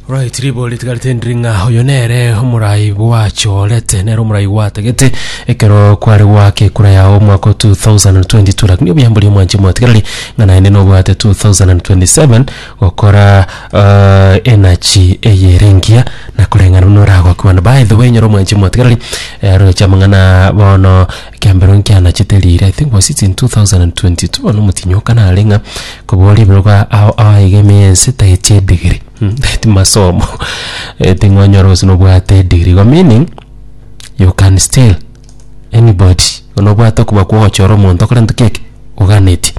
Right, ribori ritigarete ndiri ng'a oyo nere omorai bwachorete nere omorai gwatagete ekero kware gwaka ekura yao omwaka o 2022 lakini obuya mbori omwanche mwatigarari ng'a naende nobwate 2027 gokora uh, energy eye ere engiya na koreng'ana buna oragokigwa na by the way nyora omwanche mwatigarari eh, roche amang'ana bono Ekiambero nkianachete riire, I think was it in 2022 bono omotinyi okana are ng'a koboria ebirogo ao ao iga ime y'ense taeti edegree mm taeti masomo ting'onyora gose nobwate edegree igo meaning you can still anybody nobwate okoba kwa ogochora omonto okore ntoki eke oganetie.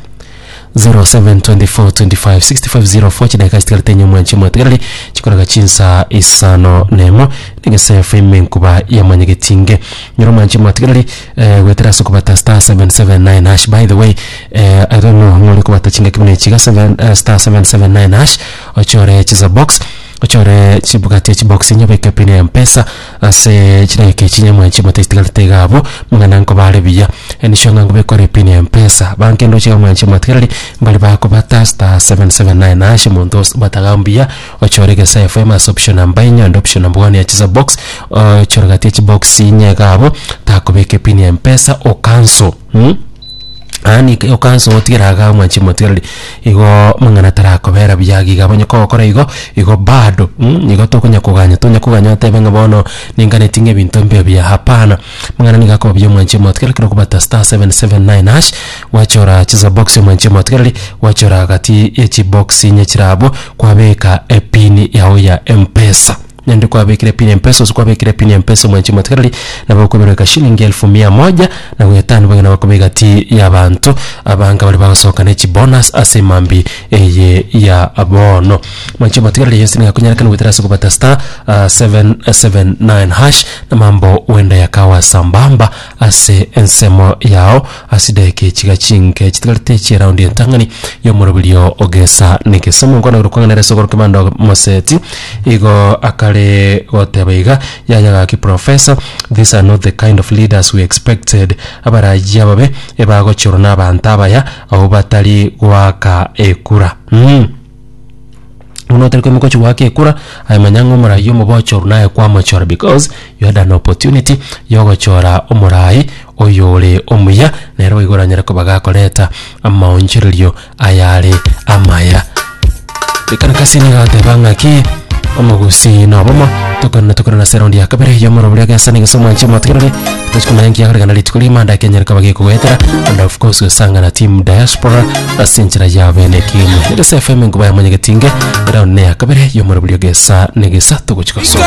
0724256504 chidakika chitigarete enye omwanchi omwatigareri chikoraga chinsa isano nemo negesefu ime nkuba yamanyegetinge nyora omwanchi omwatigareri eh, goetera ase okobata star 779 hash by the way eh, I don't know ng'ori kobata chingaki buna echi iga 7 eh, star 779 hash ochore chisa box ochore chibugati chibox inye obeke pin ya mpesa Ase chidakika echi nyamwanchi mote chitigarete iga abwo, mang'ana nkobare buya. Enisho ng'a nkobekore epin ya mpesa. Banke ndoche iga mwanchi motigareri, mbare bakobata star 779 hash omonto ose bataga mbuya, ochore Egesa FM ase option number enye onde option number one ya chisa box, ochore gati ya chibox inye iga abwo, takobeka epin ya mpesa ocancel mh. Yaani okansa otigera igaa mwanchi motigereri, igo amang'ana tarakobera buya iga iga onye kogokora igo, igo bado mh, igo tokonya koganya tonya koganya otebe ng'a bono ninganeti ng'a ebinto mbibe buya hapana. Amang'ana nigo akoba buya mwanchi motigereri ekero okobata star 779 hash, gwachora chisa box mwanchi motigereri, gwachora gati ya chibox inye chire abwo, kwabeka epin yago ya mpesa. Naende kwabekire pin ya mpesa, gose kwabekire pin ya mpesa omwanchi omotigareri, nabo okobereka shilingi elfu mia moja na goetania bang'ina bakoba egati y'abanto abange baria bagosoka ne chibonus ase emambi eye ya bono. Mwanchi omotigareri yonsi nigo akonyarekana goetera ase okobata star 779 hash na mambo huenda yakawa sambamba ase ensemo yao ase chidakika echi chinke chitigarete chi'eraundi entang'ani y'omoroberio ogesa negesa. Omonkwana oyo okong'anera ase okoroka emando moseti igo akare goteba iga, Yaya gaki professor, these are not the kind of leaders we expected. Abarayia ababe ebagochorwa na abanto abaya abwo batari goaka ekura. Mmh. Buna otari koimoka ochia goaka ekura, aye manya ng'a omorai omobe ochorwa naye kwamochora because you had an opportunity ya ogochora omorai oyore omuya, nere boigo oranyare koba gakoreta amaonchorerio ayare amaya. Ekarakasi nigo egoteba ng'aki omogusii nobomo, tokorana tokorana ase eraundi ya kabere ya omorobori ogesa na egesa omwanchi omotigereri, tochi komanya nki yakorekana rituko rigima ande ekenyoro kaba gekogoetera and of course gosanga na team diaspora ase enchera ya bene ekemo. Egesa FM enkuba ya mwanyagetinge, eraundi neya kabere ya omorobori ogesa na egesa togochi gosoa.